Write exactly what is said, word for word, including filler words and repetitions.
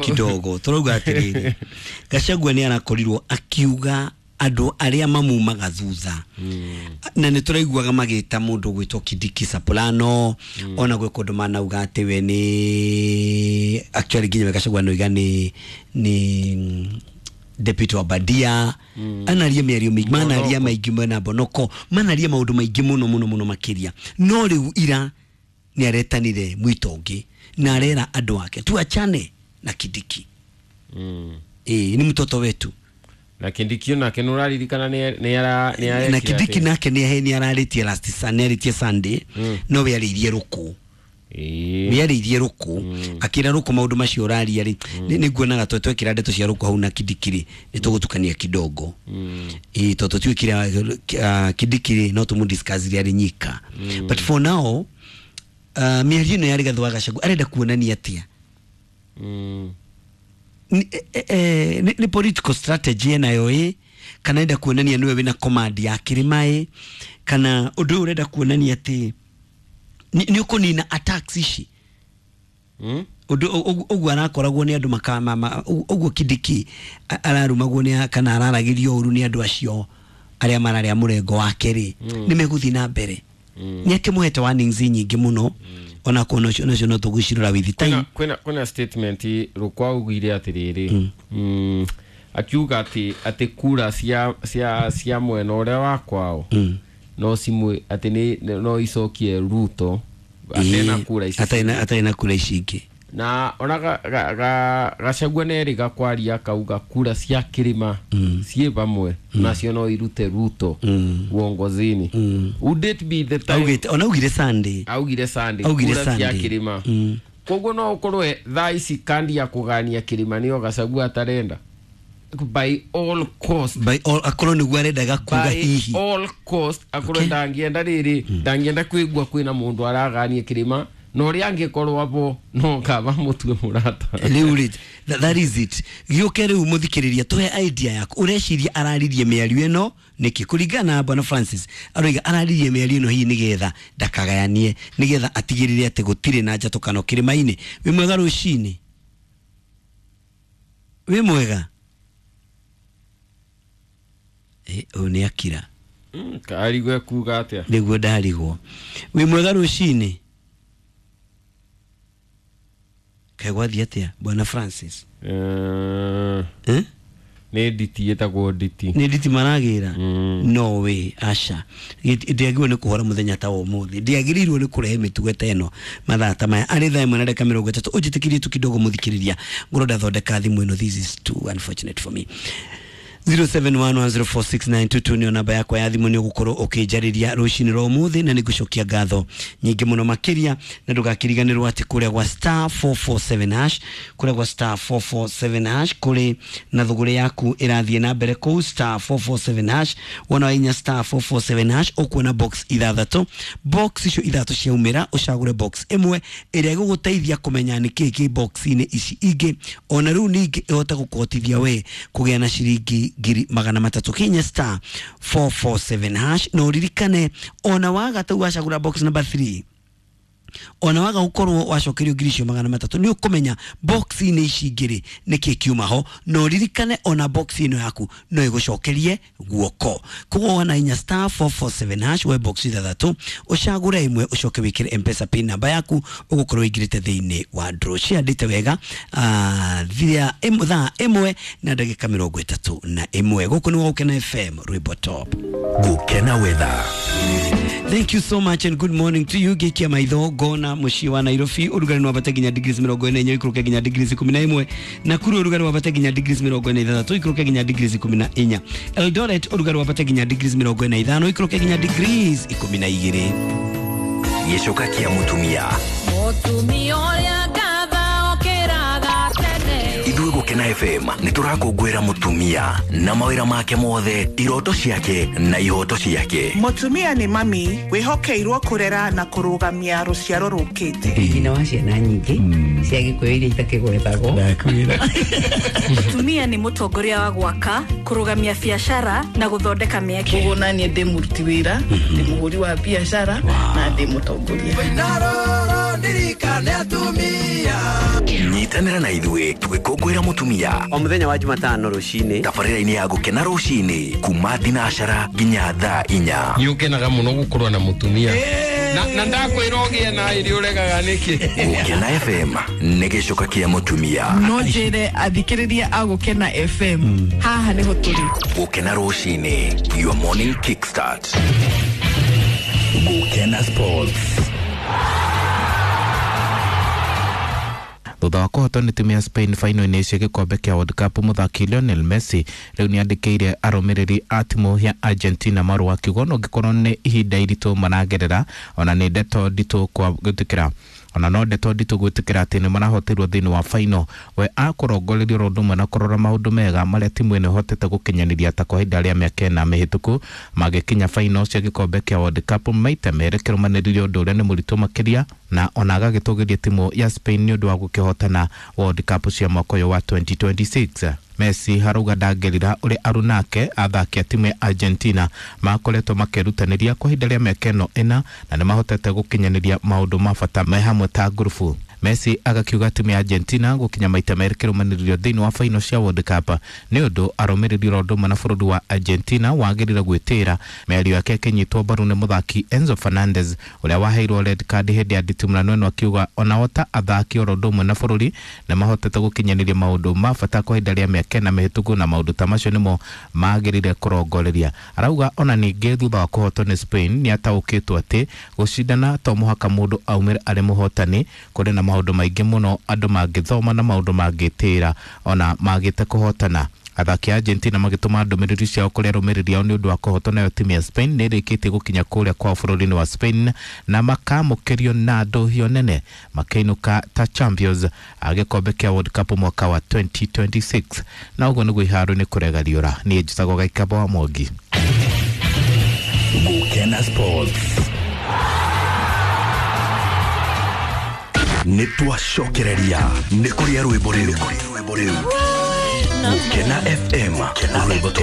Kidogo turauga atiriri, Gachagua ni arakorirwo akiuga andu aria mamumaga thutha na nĩ tũraiguaga magĩta mũndũ gwĩtwo Kindiki Soprano, ona gwĩ kũndũ manauga atĩ we nĩ actually nginya Gachagua noiga nĩ nĩ deputy wa Badia, anaria mĩario mĩingĩ, manaria maingĩ mena Bonoko, manaria maũndũ maingĩ mũno mũno mũno makĩria. No rĩu ira nĩ aretanire mwito ũngĩ na arera andũ ake tuachane na Kindiki. Mm. Eh, ni mtoto wetu. Na Kindiki nake nuraririkana ni ni ara ni ara na Kindiki nake ni ni araritie last Sunday, aritie Sunday, Mm. no we aririe ruku. Eh. We aririe ruku Mm. akira ruku maundu macio uraria ri ni nguonaga twe twekira ndeto cia ruku hau na Kindiki ri ni tugutukania kidogo. Mm. Eh, toto twikira uh, Kindiki ri no tumu discuss ri ari nyika. Mm. But for now, uh, mĩario ĩno ya Rigathi wa Gachagua arenda kuonania atia? Mm. Ni, eh, eh, ni, ni political strategy nayo ĩ kana enda kuonania niwe wina command ya kirima ĩ kana undu ũyũ urenda kuonania ati ni, ni ukunina attacks ici? Mm. Undu ũguo arakoragwo nĩ andũ makama ũguo Kindiki ararumagwo nĩ kana araragĩrio ũru nĩ andũ acio arĩa mararĩa mũrengo wake rĩ, Mm. nĩ megũthiĩ na mbere. Mm. Nĩ akĩmũhete warnings nyingĩ mũno, ona kuona ũcio nacio no tũgũcirora with time. Kwĩna kwĩna kwĩna statement rukwa augire atiriri, mm akiuga ati ati kura cia cia cia mwena uria wa kwao Mm. no cimwe ati ni no icokie Ruto atena kura ici. Atarĩ atarĩ na kura ici ingĩ. Na ona ga, ga, ga, Gachagua nĩ kwaria akauga kura cia kirima Mm. ciĩ vamwe nacio no irute Ruto Mm. uongozini. Mm. Would it be the time? Augite ona augire Sunday. Augire Sunday Augire kura cia Sunday. kirima. Mm. Koguo no ukorwe thaa ici kandi ya kugania kirima niyo Gachagua atarenda by all cost. By all akorwo nĩguo arendaga kuga By hihi. all cost akorwo Okay. ndangienda rĩrĩ ndangienda kwĩgua kwĩna mũndũ aragania kirima na ũrĩa angĩkorwo abo no kaba mũtue mũrata. Rĩu rĩ, tha- that is it. Gĩũke rĩu mũthikĩrĩria tũhe idea yaku ũreciria araririe mĩario ĩno nĩkĩ kũringana na Bwana Francis aroiga araririe mĩario ĩno hihi nĩgetha ndakagayanie nĩgetha atigĩrĩre atĩ gũtirĩ na njatũkano kĩrĩma-inĩ. Wĩ mwega rũcinĩ? Wĩ mwega? Eh, ũyũ nĩ akira. Mm, karigwe kuga atĩa? Nĩguo ndarigwo. Wĩ mwega rũcinĩ? Kaĩ gwathiĩ atĩa Bwana Francis? Eh, Eh? nĩ nditi ĩtagwo nditi. Nĩ nditi maragĩra? Mm. No way, aca. Ndiagĩrĩirwo nĩ kũhora mũthenya ta wa ũmũthĩ, ndiagĩrĩirwo nĩ kũrehe mĩtugo ta ĩno mathaa ta maya arĩ thaa ĩmwe na ndagĩka mĩrongo ĩtatũ. Ũnjĩtĩkĩrie tu kidogo mũthikĩrĩria, ngorwo ndathondeka thimũ ĩno. This is too unfortunate for me. zero seven one one zero four six nine two two nĩyo namba yakwa ya thimũ, nĩ ũgũkorwo ũkĩnjarĩria rũcinĩ rwa ũmũthĩ na nĩngũcokia ngatho nyingĩ mũno makĩria. Na ndũgakĩriganĩrwo atĩ kũrĩa gwa star four four seven hash, kũrĩa gwa star four four seven hash kũrĩ na thũgũrĩ yaku ĩrathiĩ na mbere kũu star four four seven hash. Wona wainya star four four seven hash ũkuona box ithathatũ, box icio ithatũ ciaumĩra ũcagũre box ĩmwe ĩrĩa ĩgũgũteithia kũmenya nĩkĩĩ kĩ box-inĩ ici ingĩ, ona rĩu ningĩ ĩhote gũkũhotithia we kũgĩa na ciringi ngiri magana matatũ. Kinya star four four seven hash na ũririkane ona waga tau wacagũra box number three, ona waga gukorwo wacokerio ngiri icio magana matatũ nĩ ũkũmenya box-inĩ ici ingĩ rĩ nĩkĩ kiuma ho, na ũririkane ona box ĩno yaku no ĩgũcokerie guoko. Koguo wona inya star four four seven hash we box ithathatũ ũcagũre ĩmwe ũcoke wĩkĩre M-Pesa pin namba yaku ũgũkorwo ũingĩrĩte thĩinĩ wa draw. Ciandĩte wega ah, thia ĩmwe- thaa ĩmwe na ndagĩka mĩrongo ĩtatũ na ĩmwe. Gũkũ nĩ Gũkena F M, rwĩmbo top. Gũkena weather. Thank you so much and good morning to you. Gĩkia maitho ngona mũciĩ wa Nairobi ũrugarĩ wambate nginya degrees mĩrongo ĩna inya ũikũrũke nginya degrees ikũmi na ĩmwe. Nakuru ũrugarĩ wambate nginya degrees mĩrongo ĩna ithathatũ ũikũrũke nginya degrees ikũmi na inya. Eldoret ũrugarĩ wambate nginya degrees mĩrongo ĩna ithano ũikũrũke nginya degrees ikũmi na igĩrĩ. Gĩcoka kĩa mũtumia. Mũtumia ũrĩa ngatha okĩraga tene. Ithuĩ Gũkena F M nĩ tũrakũngũĩra mũtumia na mawĩra make mothe, iroto ciake na ihoto ciake. Mũtumia nĩ mami wĩhokeirwo kũrera na kũrũgamia rũciaro rũkĩte. Nyina wa ciana nyingĩ cia Gĩkũyũ iria itakĩgwetagwo. Ndakwĩra. Mũtumia nĩ mũtongoria wa gwaka, kũrũgamia biacara na gũthondeka mĩeke. Koguo naniĩ ndĩ mũruti wĩra, ndĩ mũhũri wa biacara na ndĩ mũtongoria. Afrika nĩ atumia. Nyitanĩra na ithuĩ tũgĩkũngũĩra mũtumia o mũthenya wa Jumatano rũcinĩ tabarĩra-inĩ ya Gũkena rũcinĩ kuma thinacara nginya thaa inya. Nĩ ũkenaga mũno gũkorwo na mũtumia na na ndakwĩra ũgĩe na irio ũregaga nĩkĩ. Gũkena F M nĩ gĩcoka kĩa mũtumia. No njĩre athikĩrĩria a Gũkena F M haha nĩho tũrĩ. Gũkena rũcinĩ, your morning kickstart. Gũkena Sports. Thutha wa kũhotwo nĩ timu ya Spain final-inĩ cia gĩkombe kĩa World Cup, mũthaki Lionel Messi rĩu nĩandĩkĩire arũmĩrĩri a timu ya Argentina marũa akiuga ona ũngĩkorwo nĩ ihinda iritũ maragerera ona nĩ ndeto nditũ kwa gwĩtĩkĩra ona no ndeto nditũ gwĩtĩkĩra atĩ nĩ marahotirwo thĩinĩ wa final. We akũrongoreria oro ũndũ ũmwe na kũrora maũndũ mega marĩa timu ĩno ĩhotete gũkinyanĩria ta kwa ihinda rĩa mĩaka ĩna mĩhĩtũku magĩkinya final cia gĩkombe kĩa World Cup maita merĩ kĩrũmanĩrĩrio ũndũ ũrĩa nĩ mũritũ makĩria, na ona agagĩtũgĩria timu ya Spain nĩ ũndũ wa gũkĩhotana World Cup cia mwaka ũyũ wa twenty twenty-six. Messi harauga ndangĩrira ũrĩa arunake athaki a timu ya Argentina makoretwo makĩrutanĩria kwa ihinda rĩa mĩaka ĩno ĩna na nĩmahotete gũkinyanĩria maũndũ ma bata me hamwe ta ngurubu. Messi agakiuga timu ya Argentina gũkinya maita merĩ kĩrũmanĩrĩrio thĩinĩ wa final cia World Cup nĩ ũndũ arũmĩrĩri oro ũndũ ũmwe na bũrũri wa Argentina wagĩrĩire gwĩtĩĩra. Mĩario yake ĩkĩnyitwo mbaru nĩ mũthaki Enzo Fernandez ũrĩa waheirwo red card hĩndĩ ya nditimũrano ĩno, akiuga onao ta athaki oro ũndũ ũmwe na bũrũri nĩmahotete gũkinyanĩria maũndũ ma bata kwa ihinda rĩa mĩaka ĩna mĩhĩtũku na maũndũ ta macio nĩmo magĩrĩire kũrongoreria. Arauga ona ningĩ thutha wa kũhotwo nĩ Spain nĩataũkĩtwo atĩ gũcindana to mũhaka mũndũ aumĩre arĩ mũhotani, kũrĩ na maũndũ maingĩ mũno andũ mangĩthoma na maũndũ mangĩtĩra ona magĩte kũhotana. Athaki a Argentina magĩtũma ndũmĩrĩri ciao kũrĩ arũmĩrĩri ao nĩ ũndũ wa kũhotwo nayo timu ya Spain nĩ ĩrĩkĩtie gũkinya kũrĩa kwao bũrũri-inĩ wa Spain na makamũkĩrio na ndũhio nene makĩinũka ta champions a gĩkombe kĩa World Cup mwaka wa twenty twenty-six. Na ũguo nĩguo iharo-inĩ kũrega riũra. Niĩ njĩtagwo Gaikaba wa Mwangi. Gũkena Sports. Nĩ twacokereria nĩ kũrĩa rwĩmbo rĩu. Gũkena F M rwĩmbo tu.